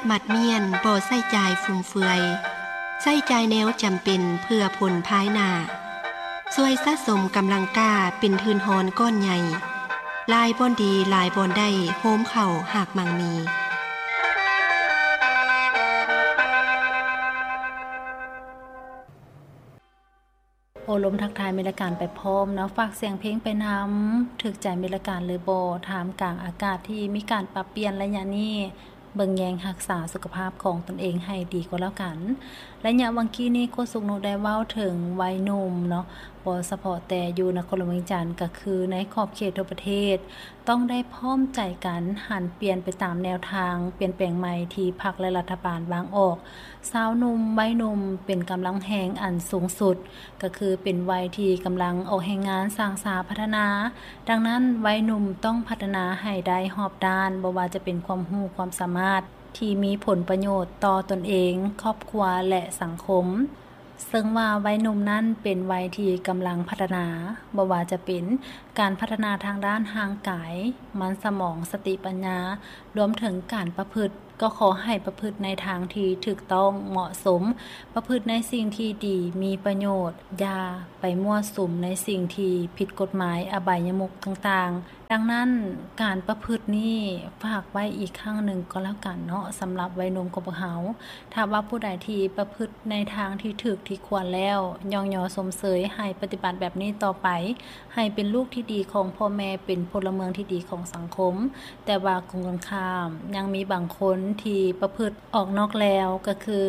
ໝັດມ້ຽນບໍ່ໃຊ້ຈ່າຍຟຸມເຟືອຍ, ໃຊ້ຈ່າຍແນວຈຳເປັນເພື່ອຜົນພາຍໜ້າ. ຊ່ວຍສະສົມກຳລັງກ້າເປັນທຶນຮອນກ້ອນໃຫຍ່. ຫຼາຍບ່ອນດີ, ຫຼາຍບ່ອນໄດ້, ໂຮມເຂົ້າຮາກໝັ່ງມີ. ໂອ້ລົມທັກທາຍມິດລະການໄປພ້ອມເນາະ, ຝາກສຽງເພງໄປນຳ. ຖືກໃຈມິດລະການຫຼືບໍ່? ທ່າມກາງອາກາດທີ່ມີການປັບປ່ຽນໄລຍະນີ້, ເບິ່ງແຍງຮັກສາສຸຂະພາບຂອງຕົນເອງໃຫ້ດີກວ່າແລ້ວກັນ. ໄລຍະຫວ່າງກີ້ນີ້ ໂຄສົກນຸໄດ້ເວົ້າເຖິງໄວໜຸ່ມເນາະ, ບໍ່ສະເພາະແຕ່ຢູ່ນະຄອນຫຼວງວຽງຈັນ, ກະຄືໃນຂອບເຂດທົ່ວປະເທດ ຕ້ອງໄດ້ພ້ອມໃຈກັນຫັນປ່ຽນໄປຕາມແນວທາງປ່ຽນແປງໃໝ່ທີ່ພັກ ແລະ ລັດຖະບານວາງອອກ. ຊາວໜຸ່ມ, ໄວໜຸ່ມເປັນກຳລັງແຮງອັນສູງສຸດ, ກໍຄືເປັນໄວທີ່ກຳລັງອອກແຮງງານສ້າງສາພັດທະນາ. ດັ່ງນັ້ນ, ໄວໜຸ່ມຕ້ອງພັດທະນາໃຫ້ໄດ້ຮອບດ້ານ, ບໍ່ວ່າຈະເປັນຄວາມຮູ້ຄວາມສາມາດທີ່ມີຜົນປະໂຫຍດຕໍ່ຕົນເອງ, ຄອບຄົວ ແລະ ສັງຄົມ. ເຊິ່ງວ່າໄວໜຸ່ມນັ້ນເປັນໄວທີ່ກຳລັງພັດທະນາ, ບໍ່ວ່າຈະເປັນການພັດທະນາທາງດ້ານຮ່າງກາຍ, ມັນສະໝອງ, ສະຕິປັນຍາ, ລວມເຖິງການປະພຶດ, ກໍຂໍໃຫ້ປະພຶດໃນທາງທີ່ຖືກຕ້ອງເໝາະສົມ, ປະພຶດໃນສິ່ງທີ່ດີ, ມີປະໂຫຍດ, ຢ່າໄປມົ້ວສຸມໃນສິ່ງທີ່ຜິດກົດໝາຍ, ອະບາຍຍະມຸກຕ່າງໆ. ດັ່ງນັ້ນ, ການປະພຶດນີ້ຝາກໄວ້ອີກຄັ້ງໜຶ່ງກໍແລ້ວກັນເນາະ, ສຳລັບໄວໜຸ່ມຂອງພວກເຮົາ. ຖ້າວ່າຜູ້ໃດທີ່ປະພຶດໃນທາງທີ່ຖືກທີ່ຄວນແລ້ວ, ຍ້ອງຍໍຊົມເຊີຍໃຫ້ປະຕິບັດແບບນີ້ຕໍ່ໄປ, ໃຫ້ເປັນລູກທີ່ດີຂອງພໍ່ແມ່, ເປັນພົນລະເມືອງທີ່ດີຂອງສັງຄົມ. ແຕ່ວ່າກົງກັນຂ້າມ, ຍັງມີບາງຄົນທີ່ປະພຶດອອກນອກແລວ, ກໍຄື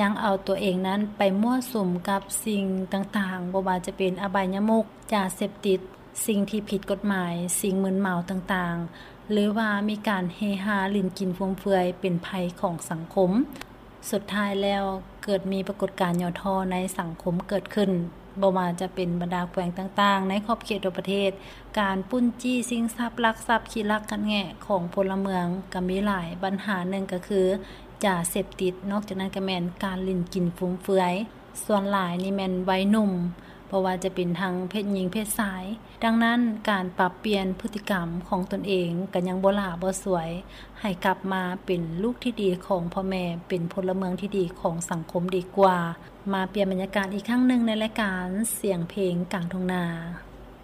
ຍັງເອົາຕົວເອງນັ້ນໄປມົ້ວສຸມກັບສິ່ງຕ່າງໆ, ບໍ່ວ່າຈະເປັນອະບາຍຍະມຸກ, ຢາເສບຕິດ, ສິ່ງທີ່ຜິດກົດໝາຍ, ສິ່ງມຶນເມົາຕ່າງໆ ຫຼືວ່າມີການເຮຮາຫຼິ້ນກິນຟຸມເຟືອຍເປັນໄພຂອງສັງຄົມ. ສຸດທ້າຍແລ້ວເກີດມີປາກົດການຫຍໍ້ທໍ້ໃນສັງຄົມເກີດຂຶ້ນ, ບໍ່ວ່າຈະເປັນບັນດາແຂວງຕ່າງໆໃນຂອບເຂດທົ່ວປະເທດ, ການປຸ້ນຈີ້ຊິງຊັບ, ລັກຊັບ, ຂີ້ລັກກັນແງະຂອງພົນລະເມືອງກໍມີຫຼາຍ. ບັນຫາໜຶ່ງກໍຄືຢາເສບຕິດ, ນອກຈາກນັ້ນກໍແມ່ນການຫຼິ້ນກິນຟຸມເຟືອຍ. ສ່ວນຫຼາຍນີ້ແມ່ນໄວໜຸ່ມ, ບໍ່ວ່າຈະເປັນທັງເພດຍິງເພດຊາຍ. ດັ່ງນັ້ນ, ການປັບປ່ຽນພຶດຕິກຳຂອງຕົນເອງກໍຍັງບໍ່ຫຼ້າບໍ່ສວຍ, ໃຫ້ກັບມາເປັນລູກທີ່ດີຂອງພໍ່ແມ່, ເປັນພົນລະເມືອງທີ່ດີຂອງສັງຄົມດີກວ່າ. ມາປ່ຽນບັນຍາກາດອີກຄັ້ງໜຶ່ງໃນລາຍການສຽງເພງກາງທົ່ງນາ.